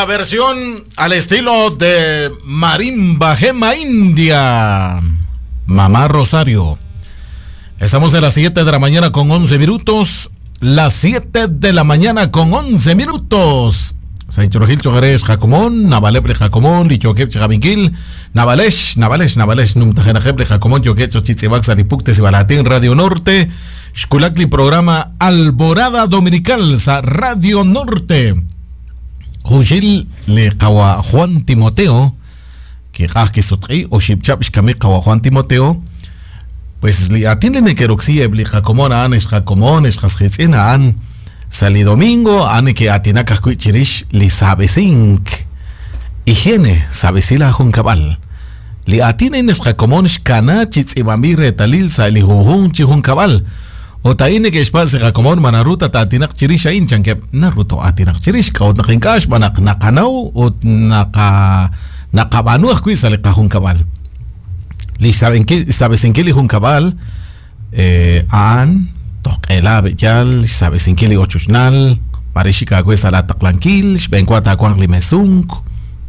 la versión al estilo de Marimba Gema India. Mamá Rosario. Estamos a las 7 de la mañana con 11 minutos. Las 7 de la mañana con 11 minutos. Saichorojil Chogares Jacomón, Navalebre Jacomón, Lichoquep Chavinquil, Navalesh, Navalesh, Navalesh, Numtajenajebre Jacomón, Yoquecho Chitzibax, Alipuktes y Balatín, Radio Norte, Xculacli, programa Alborada Dominical, sa Radio Norte. Juxil le Kawa Juan Timoteo, que Sotri, o Xipchap Xkami Kawa Juan Timoteo, pues li atin le nekeroxi ebli Jacomón, an es Jacomón, es Jasjitzina, an. Sali domingo, ane que atinaka chirish li sabesink. Higiene, sabesila junkabal. Li atine nesjakomon xkana chitzibambi retalil sa li junjun chijunkabal. Otaine que espase jakomon manaruta tatinak chirish ain chanke naruto atinak chirish kaut nakinkash manak nakanau ut naka nakabanu ajkui sali kajunkabal. Li sabesinki li junkabal aan toqela beyal sabesinkili ochuchnal marishika kwesa la taqlankil xbenkwa takuan li mesunk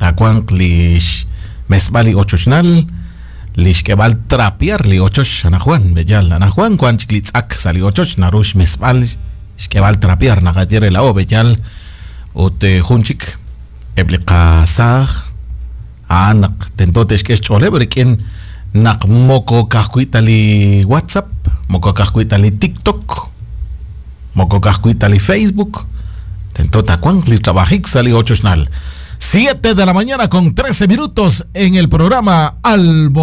takuan li mesbali ochuchnal li xkebal trapiar li ochoch anajuan beyal anajuan kuan chiklitzak sali ochoch narush mesbal xkebal trapiar naqatiere la o beyal ut junchik ebliqasaj anak tentote xkex choleb rikin naq moko kajkuita li WhatsApp, moko kajkuita li TikTok, moko kajkuita li Facebook, tentota kuan li trabajik sali 8 xnal. 7 de la mañana con 13 minutos en el programa Albo.